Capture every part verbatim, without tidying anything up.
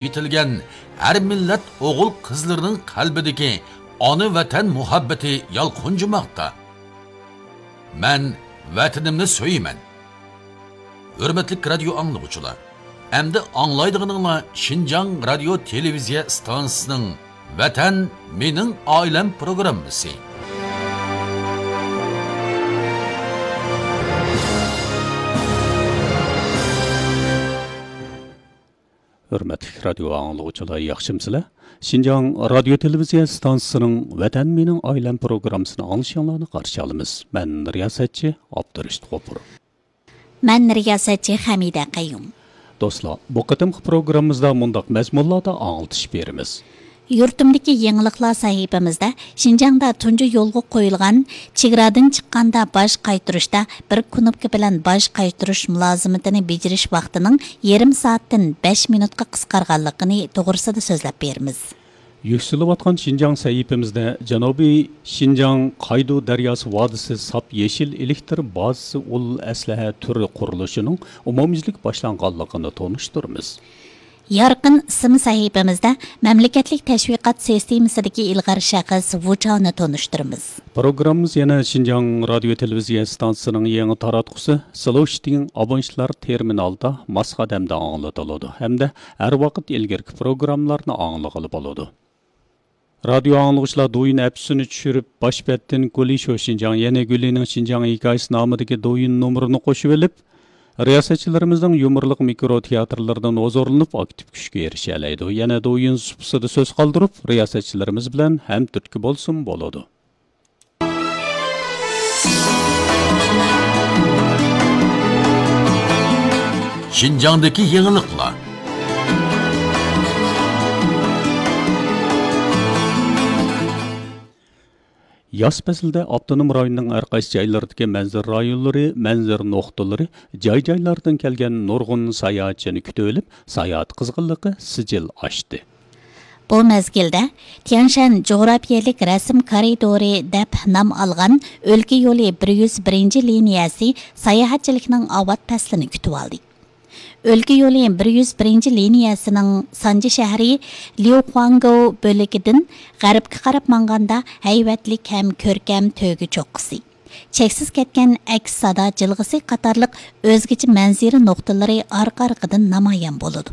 يېتىلگەن ھەر مىللەت ئوغۇل-قىزلىرىنىڭ قەلبىدىكى ئانا ۋەتەن مۇھەببىتى يالقۇنجىماقتا. مەن ۋەتىنىمنى سۆيىمەن. ھۆرمەتلىك رادىيو ئاڭلىغۇچىلار، ئەمدى ئاڭلايدىغىنىڭلار شىنجاڭ رادىيو تېلېۋىزىيە ئىستانسىسىنىڭ ۋەتەن مېنىڭ ئائىلەم پروگراممىسى. ھۆرمەتلىك رادىيو ئاڭلىغۇچىلار، ياخشىمسىلەر؟ شىنجاڭ رادىيو تېلېۋىزىيە ئىستانسىسىنىڭ ۋەتەن مېنىڭ ئائىلەم پروگراممىسىنى ئاڭلىشىڭلارنى قارشى ئالىمىز. مەن رىياسەتچى ئابدۇرېشىت غوپۇر. مەن رىياسەتچى خەمىدە قەييۇم. دوستلار، بۇ قېتىمقى پروگراممىمىزدا مۇنداق مەزمۇنلاردا ئاڭلىتىش بېرىمىز. يۇرتۇمدىكى يېڭىلىقلار سەھىپىمىزدە شىنجاڭدا تۇنجى يولغا قويۇلغان چېگرادىن چىققاندا باج قايتۇرۇشتا بىر كۇنۇپكا بىلەن باج قايتۇرۇش مۇلازىمىتىنى بېجىرىش ۋاقتىنىڭ يېرىم سائەتتىن بەش مىنۇتقا قىسقارغانلىقىنى توغرىسىدا سۆزلەپ بېرىمىز. يۈكسىلىۋاتقان شىنجاڭ سەھىپىمىزدە جەنۇبىي شىنجاڭ قايدۇ دەرياسى ۋادىسى ساپ يېشىل ئېلېكتىر بازىسى ئۇل ئەسلىھە تۈرى قۇرۇلۇشىنىڭ ئومۇميۈزلۈك باشلانغانلىقىنى تونۇشتۇرىمىز. يارقىن ئىسىم سەھىپىمىزدە مەملىكەتلىك تەشۋىقات سىستېمىسىدىكى ئىلغار شەخس ۋۇچاۋنى تونۇشتۇرىمىز. پروگراممىمىز يەنە شىنجاڭ رادىيو تېلېۋىزىيە ئىستانسىسىنىڭ يېڭى تاراتقۇسى سلوشتىڭ ئابونېنتلار تېرمىنالىدا ماس قەدەمدە ئاڭلىتىلىدۇ ھەمدە ھەر ۋاقىت ئىلگىرىكى پروگراممىلارنى ئاڭلىغىلى بولىدۇ. رادىيو ئاڭلىغۇچىلار دويىن ئەپسىنى چۈشۈرۈپ، باش بەتتىن گۇلى شو شىنجاڭ، يەنە گۇلىنىڭ شىنجاڭ ھېكايىسى نامىدىكى دويىن نومۇرىنى قوشۇۋېلىپ، رىياسەتچىلىرىمىزنىڭ يۇمۇرلۇق مىكرو تىياتىرلىرىدىن ھۇزۇرلىنىپ، ئاكتىپ كۈچكە ئېرىشەلەيدۇ. يەنە دويىن سۇپىسىدا سۆز قالدۇرۇپ، رىياسەتچىلىرىمىز بىلەن ھەمتۈرتكە بولسىمۇ بولىدۇ. شىنجاڭدىكى يېڭىلىقلار. ياز پەسلىدە ئاپتونوم رايوننىڭ ھەر قايسى جايلىرىدىكى مەنزىرە رايونلىرى، مەنزىرە نۇقتىلىرى، جاي-جايلاردىن كەلگەن نۇرغۇن ساياھەتچىنى كۈتۈۋېلىپ، ساياھەت قىزغىنلىقى سىجىل ئاشتى. بۇ مەزگىلدە تيەنشەن جۇغراپىيەلىك رەسىم كارىدورى دەپ نام ئالغان ئۆلكە يولى بىر يۈز بىرىنچى لىنىيەسى ساياھەتچىلىكنىڭ ئاۋات پەسلىنى كۈتۈۋالدى. ئۆلكە يولى بىر يۈز بىرىنچى لىنىيەسىنىڭ سانجى شەھىرى ليۇخۇاڭگوۋ بۆلىكىدىن غەربكە قاراپ ماڭغاندا ھەيۋەتلىك ھەم كۆركەم تۆگە چوققىسى، چەكسىز كەتكەن ئەكس سادا جىلغىسى قاتارلىق ئۆزگىچە مەنزىرە نۇقتىلىرى ئارقا-ئارقىدىن نامايان بولىدۇ.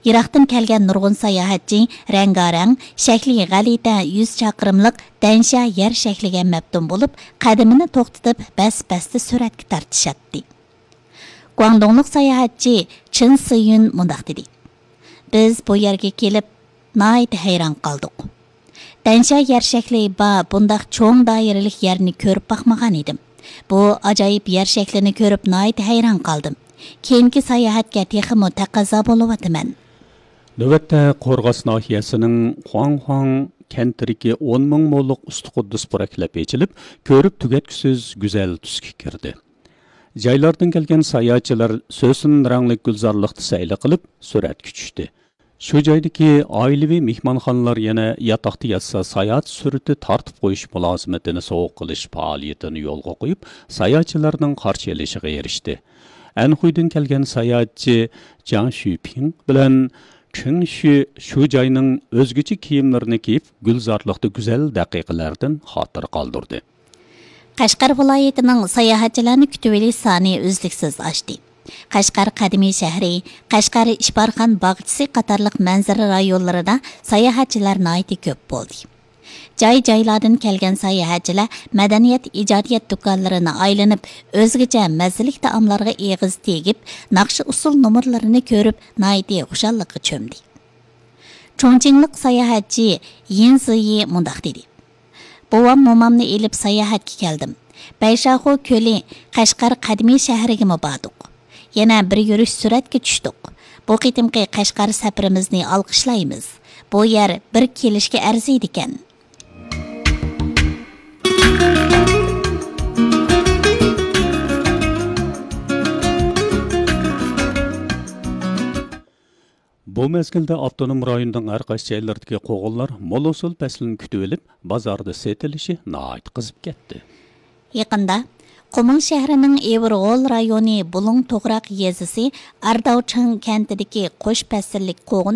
يىراقتىن كەلگەن نۇرغۇن ساياھەتچى رەڭگارەڭ، شەكلى غەلىتە يۈز چاقىرىملىق دەنشيا يەر شەكلىگە مەپتۇن بولۇپ، قەدىمىنى توختىتىپ، بەس-بەستە سۈرەتكە تارتىشاتتى. گۇاڭدۇڭلۇق ساياھەتچى چېن سىيۈن مۇنداق دېدى: بىز بۇ يەرگە كېلىپ، ناھايىتى ھەيران قالدۇق. دەنشيا يەر شەكلى بار بۇنداق چوڭ دائىرىلىك يەرنى كۆرۈپ باقمىغان ئىدىم. بۇ ئاجايىپ يەر شەكلىنى كۆرۈپ ناھايىتى ھەيران قالدىم. كېيىنكى ساياھەتكە تېخىمۇ تەقەززا بولۇۋاتىمەن. نۆۋەتتە قورغاس ناھىيەسىنىڭ خۇاڭخۇاڭ كەنتىدىكى ئون مىڭ موللۇق ئۇستىقۇددۇس پۇرەكلەپ ئېچىلىپ، كۆرۈپ تۈگەتكۈسىز گۈزەل تۈسكە كىردى. جايلاردىن كەلگەن ساياھەتچىلەر سۆسۈن رەڭلىك گۈلزارلىقتا سەيلە قىلىپ، سۈرەتكە چۈشتى. شۇ جايدىكى ئائىلىۋى مېھمانخانىلار يەنە ياتاقتا ياتسا ساياھەت سۈرىتى تارتىپ قويۇش مۇلازىمىتىنى سوۋغا قىلىش پائالىيىتىنى يولغا قويۇپ، ساياھەتچىلەرنىڭ قارشى ئېلىشىغا ئېرىشتى. ئەنخۇيدىن كەلگەن ساياھەتچى جاڭ شۈپىڭ بىلەن چېڭ شۈ شۇ جاينىڭ ئۆزگىچە كىيىملىرىنى كىيىپ، گۈلزارلىقتا گۈزەل دەقىقىلەردىن خاتىرە قالدۇردى. قەشقەر ۋىلايىتىنىڭ ساياھەتچىلەرنى كۈتۈۋېلىش سانى ئۈزلۈكسىز ئاشتى. قەشقەر قەدىمىي شەھىرى، قەشقەر ئىپارخان باغچىسى قاتارلىق مەنزىرە رايونلىرىدا ساياھەتچىلەر ناھايىتى كۆپ بولدى. جاي-جايلاردىن كەلگەن ساياھەتچىلەر مەدەنىيەت، ئىجادىيەت دۇكانلىرىنى ئايلىنىپ، ئۆزگىچە مەززىلىك تائاملارغا ئېغىز تېگىپ، ناخشا-ئۇسسۇل نومۇرلىرىنى كۆرۈپ، ناھايىتى خۇشاللىققا چۆمدى. چۇڭچىڭلىق ساياھەتچى يىن زىيى مۇنداق دېدى: بوۋام-مومامنى ئېلىپ ساياھەتكە كەلدىم. بەيشاخۇ كۆلى، قەشقەر قەدىمىي شەھىرىگىمۇ باردۇق. يەنە بىر يۈرۈش سۈرەتكە چۈشتۇق. بۇ قېتىمقى قەشقەر سەپىرىمىزنى ئالقىشلايمىز. بۇ يەر بىر كېلىشكە ئەرزىيدىكەن. بۇ مەزگىلدە ئاپتونوم رايوننىڭ ھەر قايسى جايلىرىدىكى قوغۇنلار مول ھوسۇل پەسلىنى كۈتۈۋېلىپ، بازاردا سېتىلىشى ناھايىتى قىزىپ كەتتى. يېقىندا قۇمۇل شەھىرىنىڭ ئېۋىرغول رايونى بۇلۇڭ توغراق يېزىسى ئارداۋچىڭ كەنتىدىكى قوش پەسىللىك قوغۇن